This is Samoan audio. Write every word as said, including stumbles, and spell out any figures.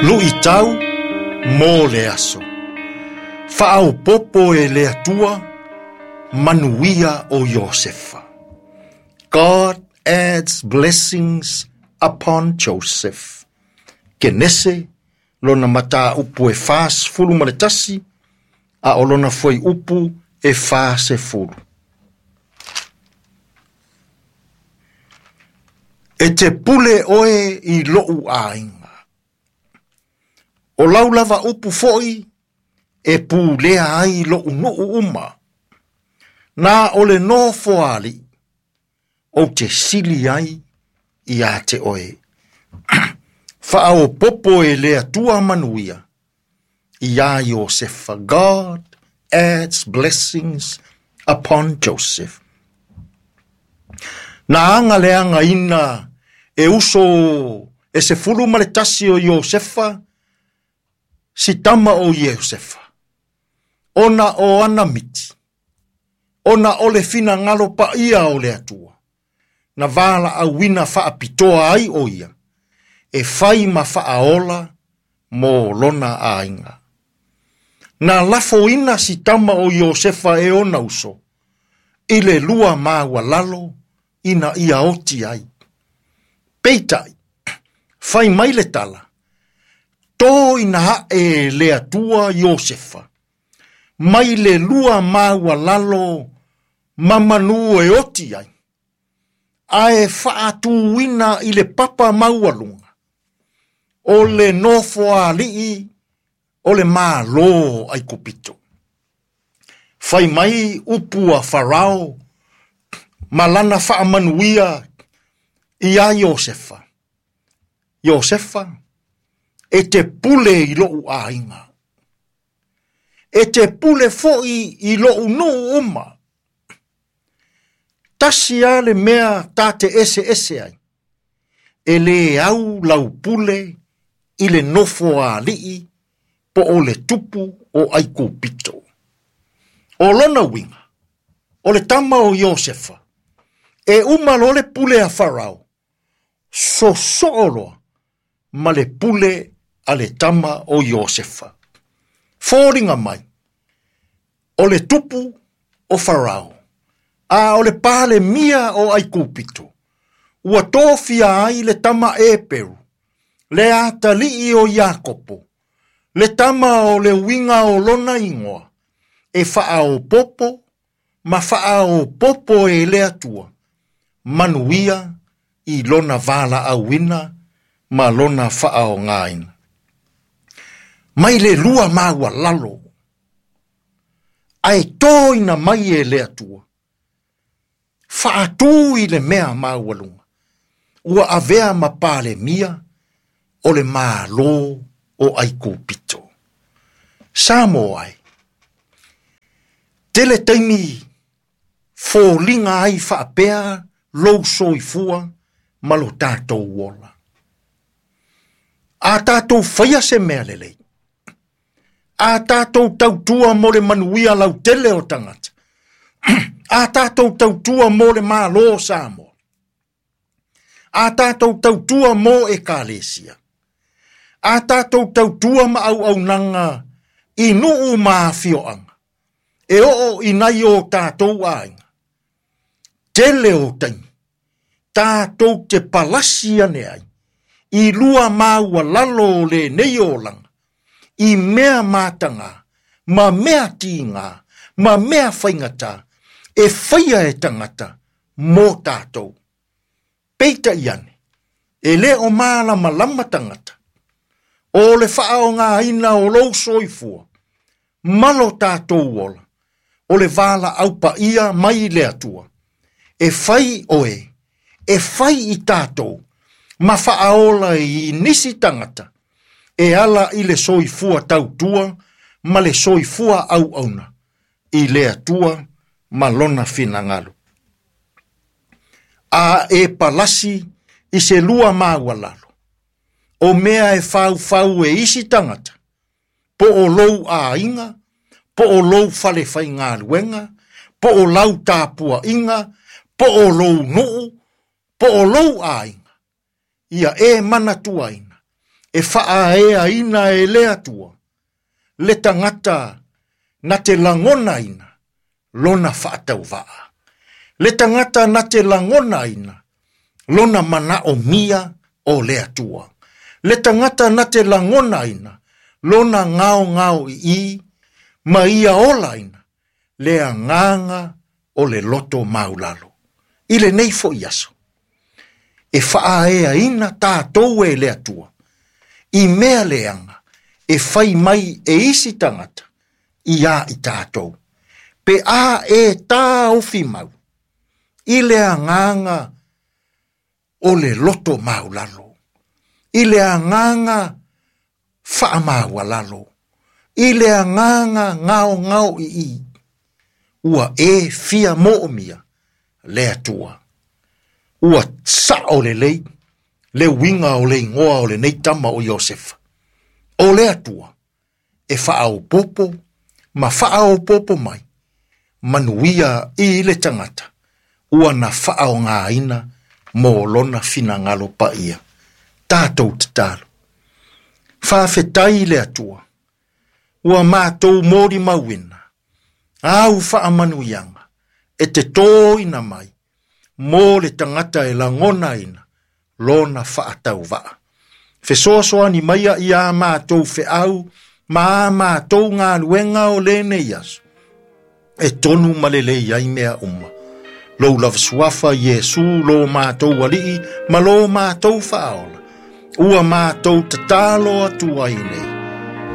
Luʻitau mo le aso. Faaopopo e le Atua manuia o Iosefa. God adds blessings upon Joseph. Kenese lona mataupu e fasefulu ma le tasi, a o lona fuaiupu e fasefulu. E te pule oe i lou aiga. O lau lava upu foi e pulea ai lou nuu uma. Na o le nofo ali, o te sili ai ia te oe. Faaopopo e le Atua manuia ia Iosefa. God adds blessings upon Joseph. Na anga le anga ina e uso e se fulu ma le tasi o Iosefa, si tama o Iosefa. Ona o ana miti, ona o le fina ngalo pa ia o le Atua. Na vala auina faapitoa ai o ia, e fai ma faaola mo lona aiga. Na lafoina si tama o Iosefa e ona uso, i le lua maualalo ina ia oti ai. Peitai, fai mai le tala, tō ina hae le Atua Iosefa, mai le lua maualalo mamanu e oti ai, ae faatuina i le papa maualuga, o le nofo alii o le malo Aikupito. Fai mai upu a Farao, malana faamanuia ia Iosefa. Iosefa, e te pule i lou aiga. E te pule foi i lou nuu uma. Tasi a le mea ta te ese ese ai. E le au lau pule i le nofo alii po o le tupu o Aikupito. O lona uiga, o le tama o Iosefa, e uma lo le pule a Farao, sosoo loa ma le pule a le tama o Iosefa. Fōringa mai, o le tupu o Farao, a o le pale mia o Aikupito, ua tofia ai le tama Eperu, le atalii o Iakopo, le tama o le uiga o lona igoa, e faaopopo ma faaopopo e le Atua, manuia i lona vala auina ma lona faaogaina. Mai le lua maualalo, ae tōina mai e le Atua, faatū i le mea maualuga, ua avea ma palemia o le malo o Aikupito. Samoa ai, tele taimi fōliga ai faapea lou soifua ma lo tatou ola. A tatou faia se mea lelei, a tatou tautua mo le manuia lautele o tagata, a tatou tautua mo le malo o Samoa, a tatou tautua mo ekalesia, a tatou tautua ma auaunaga i nuu ma afioaga, e oo i nai o tatou aiga. Tele o taimi, tatou te palasi ane ai, i lua maualalo o lenei olaga, i mea mataga, ma mea tiga, ma mea faigata, e faia e tagata mo tatou. Peitai ane, e le o malamalama tagata, o le faaogaina o lou soifua, ma lo tatou ola, o le vala aupaia mai le Atua, e fai oe, e fai i tatou, ma faaola i nisi tagata, e ala i le soifua tautua ma le soifua auauna, i le Atua ma lona finagalo. A e palasi i se lua maualalo, o mea e faufau e isi tagata, po o lou aiga, po o lou fale faigaluega, po o lau tapuaiga, po o lou nuu, po o lou aiga, ia e manatuaina, E faaeaina e le Atua le tagata na te lagonaina lona faatauvaa. Le tagata na te lagonaina lona manaomia o le Atua. Le tagata na te lagonaina lona gaogao ii ma ia olaina le agaga o le loto maulalo. I lenei fo'i aso, e faaeaina tatou e le Atua i mea leaga e fai mai e isi tagata ia i tatou. Pe a e taofi mau i le agaga o le loto maulalo, i le agaga faamaualalo, i le agaga gaogao ii, ua e fia moomia le Atua. Ua sao lelei le uiga o le igoa o lenei tama o Iosefa. O le Atua e faaopopo ma faaopopo mai manuia i le tagata ua na faaogaina mo lona finagalo paia. Tatou tatalo. Faafetai i le Atua ua matou molimauina au faamanuiaga e te toina mai mo le tagata e lagonaina lona faatauvaa. Fesoasoani maia ia matou feau ma a matou galuega o lenei aso e tonu ma lelei ai mea uma. Lou lava suafa Iesu lo matou alii ma lo matou faaola. Ua matou tatalo atu ai nei.